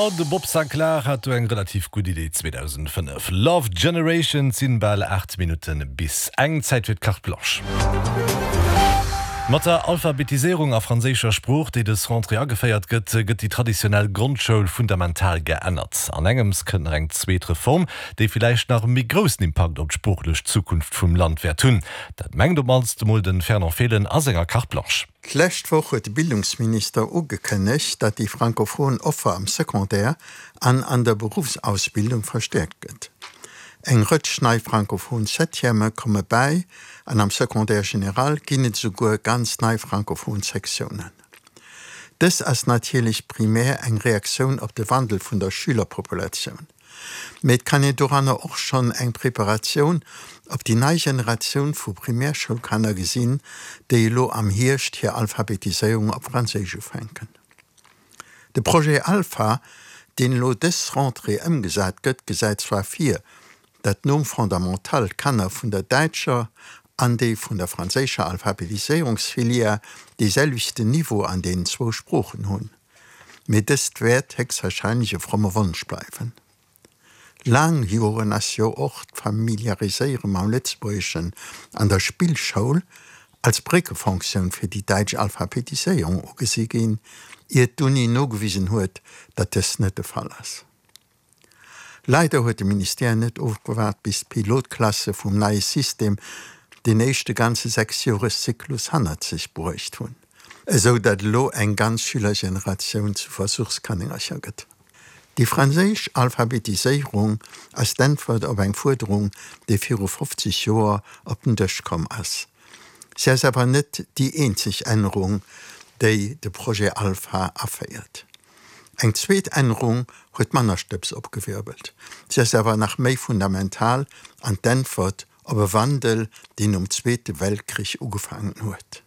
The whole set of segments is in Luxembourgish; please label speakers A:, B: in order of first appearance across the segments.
A: Oh, de Bob Sinclar hat do eng relativ gutt Idee 2005. Love Generation, 't sinn bal 8 Minutten bis eng. Zäit fir d'Carte Blanche. Mat der Alphabetiséierung a franséischer Sprooch, déi dës Rentrée ageféiert gëtt, gëtt déi traditionell Grondschoul fundamental geännert. An engems kënnt nach eng zweet Reform, déi villäicht nach e méi groussen Impakt op d'sproochlech Zukunft vum Land wäert hunn. Dat mengt op mannst emol de Fernand Fehlen a senger Carte Blanche.
B: D'lescht Woch huet de Bildungsminister ugekënnegt, datt déi frankophon Offer am Secondaire an an der Beruffsausbildung verstäerkt gëtt. Eng Rëtsch nei frankophon Septièmë komme bäi an am Secondaire général ginn et esouguer ganz nei frankophon Sektiounen. Dës ass natierlech primär eng Reaktioun op de Wandel vun der Schülerpopulatioun, mee et kann een doranner och schonn eng Preparatioun op déi nei Generatioun vu Primärschoulkanner gesinn, déi elo am Hierscht hir Alphabetiséierung op Franséisch ufänken. De Projet Alpha, deen elo dës Rentrée ëmgesat gëtt, gesäit zwar vir, datt nom Fondamental d'Kanner vun der däitscher an déi vun der franséischer Alphabetiséierungsfilière dee selwechten Niveau an deenen zwou Sproochen hunn, mee dëst wäert héchstwahrscheinlech e fromme Wonsch bleiwen. Laang Joren ass jo och d'Familiariséiere mam Lëtzebuergeschen an der Spillschoul als Bréckefonctioun fir déi däitsch Alphabetiséierung ugesi ginn, ier d'Uni nogewisen huet, datt dëst net de Fall ass. Leider huet de Ministère net ofgewaart bis d'Pilotklasse vum neie System den éischte ganze Sechsjoreszyklus hannert sech bruecht hunn, esou datt elo eng ganz Schülergeneratioun zu Versuchskanéngercher gëtt. Déi franséisch Alphabetiséierung ass d'Äntwert op eng Fuerderung, déi viru 50 Joer op den Dësch komm ass. Si ass awer net déi eenzeg Ännerung, déi de Projet Alpha aféiert. Eng zweet Ännerung huet manner Stëbs opgewirbelt. Si ass awer nach méi fundamental an d'Äntwert op e Wandel, deen nom Zweete Weltkrich ugefaangen huet.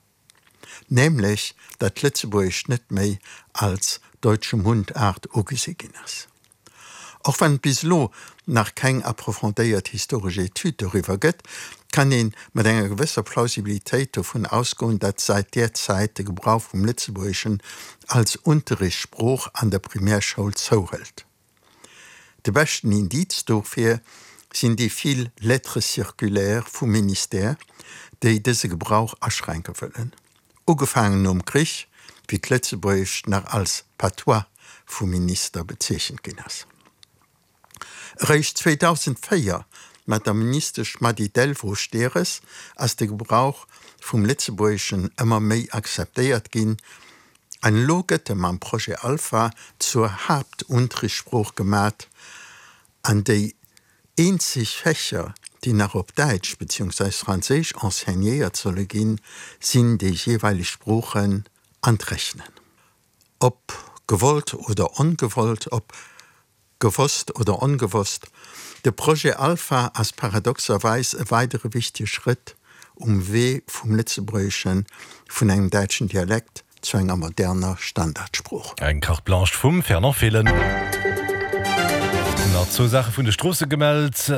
B: Nämlech datt d'Lëtzebuergescht net méi als deutsche Mundart ugesi ginn ass. Och wann et bis elo nach keng approfondéiert historesch Etüd doriwwer gëtt, kann ee mat enger gewësser Plausibilitéit dovun ausgoen, datt säit där Zäit de Gebrauch vum Lëtzebuergeschen als Unterrichtssprooch an der Primärschoul zouhëlt. De beschten Indiz dofir sinn déi vill Lettres circulaires vum Ministère, déi dëse Gebrauch aschränke wëllen. Ugefaangen nom Krich, wéi d'Lëtzebuergescht nach als Patois vum Minister bezeechent ginn ass. Eréischt 2004, mat der Ministesch Mady Delvaux-Stehres, ass de Gebrauch vum Lëtzebuergeschen ëmmer méi akzeptéiert ginn, An elo gëtt e mam Projet Alpha zur Haaptunterrichtssprooch gemat, an déi eenzeg Fächer, déi nach op Däitsch beziehungsweis Franséisch enseignéiert solle ginn, sinn déi jeeweileg Sproochen an d'Rechnen. Ob gewollt oder ongewollt, ob Gewosst oder ongewosst, de Projet Alpha ass paradoxerweis e weidere wichtege Schrëtt um Wee vum Lëtzebuergeschen vun engem däitschen Dialekt zu enger moderner Standardsprooch.
A: Eng Carte Blanche vum Fernand Fehlen. Nach zwou Saache vun de Stroosse gemellt.